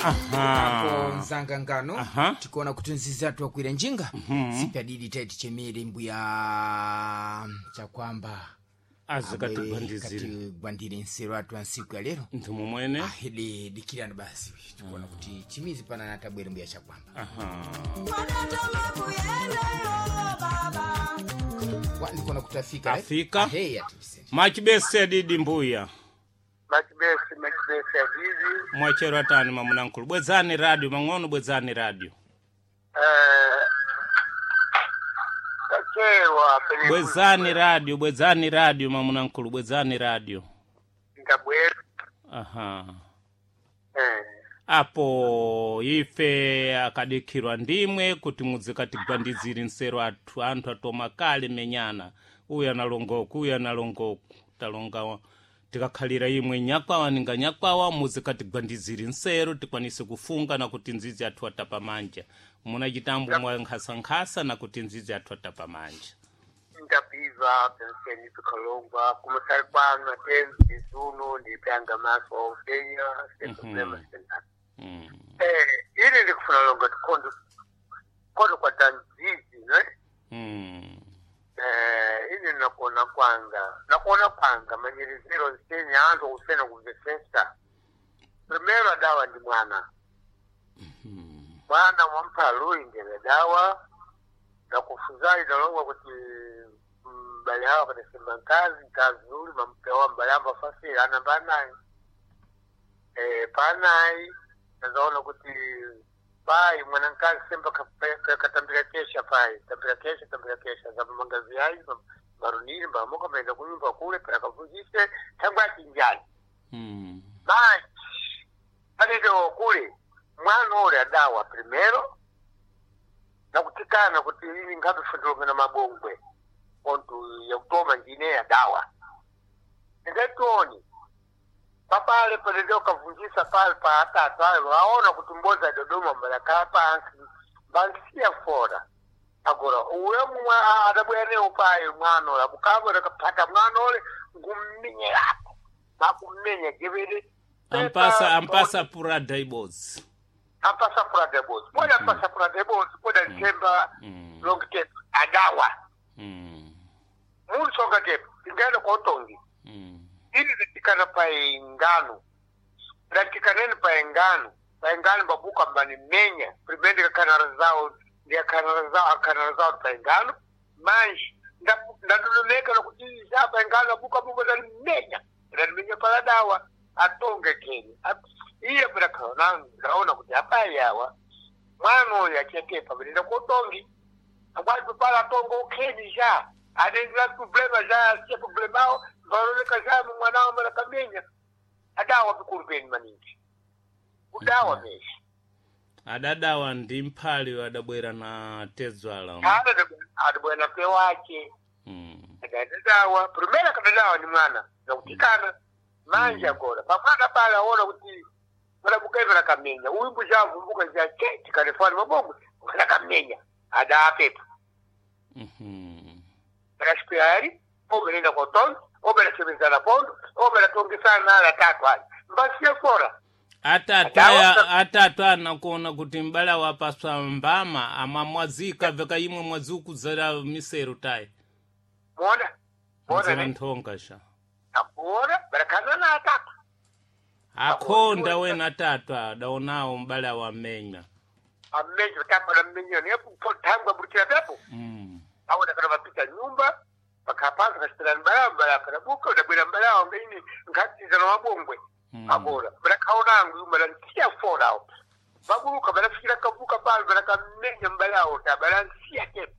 Aha. Apo mzanga ngano Aha. tikuona kuti nzizi athu akwira njinga sipadidi taiti chemere mbuya chakwamba Azikatigwandizire. katigwandire nsero athu ansiku ya lero. Nthumu mwene. Ahidi dikirani basi tikuona kuti chimizi pana natabwere mbuya chakwamba. Aha. Wa, ndikuona kuti afika right? Afika. Ahe, ati Machibese adidi mbuya. Machibesi, machibesi adidi. Mwachero atani mamunankulu. Bwezani radio mang'ono, bwezani radio. Tachewa pene. Bwezani radio, bwezani radio mamunankulu, bwezani radio. Ndabwera. Aha. Apo ife akadikhirwa ndimwe kuti muzikatigwandizire nsero athu anthu atoma kale menyana uyu analongoku uyu analongoku talonga tikakhalira imwe nyakwawa ninga nyakwawa muzikatigwandizire nsero tikwanise kufunga na kuti nzizi athu atapa manja muna chitambo mwa nkhasankhasa na kuti nzizi athu atapa manja. Ndapiva penseni pikalongwa kumasali kwanu atenzi zuno ndipyanga maso ofenya seproblema sena. Ili ndikufuna longa tikondo kondo kwa tanzizi ne. Ili nakuona kwanga nakuona kwanga manyiriziro nsenya anthu kusena kumvesesa. Primero adawa ndi mwana mwana wamphalu indele dawa nakufuzali dalongwa kuti mbale hawo akadasemba nkazi nkazi uli mampewa mbale amba fasile anamba anayi panayi nazaona kuti pai mwana nkazi semba katambira kesha pai tambira kesha tambira kesha zamba mangazi ayi maruniri mbamoka maenda kunyumba kule pakavunjise tangu achinjani. Manje panendewo kule mwana ule adawa primero nakutikana kuti ini ngabe na mabongwe ontu yakutoma ndine yadawa ndingatoni papale panende ukavunjisa pale pa atatu ayo aona kuti mboza Dodoma mbalakhala pansi mbansiya fora agora uwe mwa adabwerewo payo mwana ule akukabwera kaphata mwana ule ngummenyerako makummenya jevere. Ampasa ampasa purada ibodzi. Ampasa purada ibodzi poda ampasa purada ibodzi poda nthemba long tape adawa. Munsonga tepo tingaenda kotongi. Ili zitikana paingano latikaneni paingano paingano babuka mbanimenya primende kakanara zawo ndiyakanara zawo akanara zawo paingano manje ndadodoneka nokuti za paingano abuka buka ndalimenya ndalimenya pala dawa atonge keni iye pera ndaona kuti apayawa mwana uyu achetepa venenda kotongi akwati pala atonga ukheni ja anendela problema ja asiye problemao varoneka ja mwanawo malakamenya adawa vikulu peni maningi kudawa mesha. Adadawa ndi mphali adabwera na tedzwala. Adabwera pe wache. Adadawa primera kadadawa ni mwana nakutikana manje agora pamwana pala aona kuti madabukaivera kamenya uyu mbuzhavumbuka ja che tikanefani mabongo mwana adapepa. Akasipirari oberenda kotongi oberachemezana pondo oberatongesana ala tatu ali mbasiye fora. Atatu aya atatu anakuona kuti mbala wapaswa mbama amamwazika veka imwe mwazi ukudzera misero tayi. Mona mona mzera ne nthonga sha. Akuona barakazana atatu. Akhonda wena atatu adaonawo mbala wamenya. Ammenyo tatu ammenyo ne tangwa burukira pepo. Awona kana mapita nyumba bakapanza kasipira mbala mbala kanabuka udabwera mbala wange ini nkatiza na mabongwe. Agora barakaonangu yumala nsiya forawo baburuka barafikira kavuka pale barakamenya mbalawo ta baransiya tepo.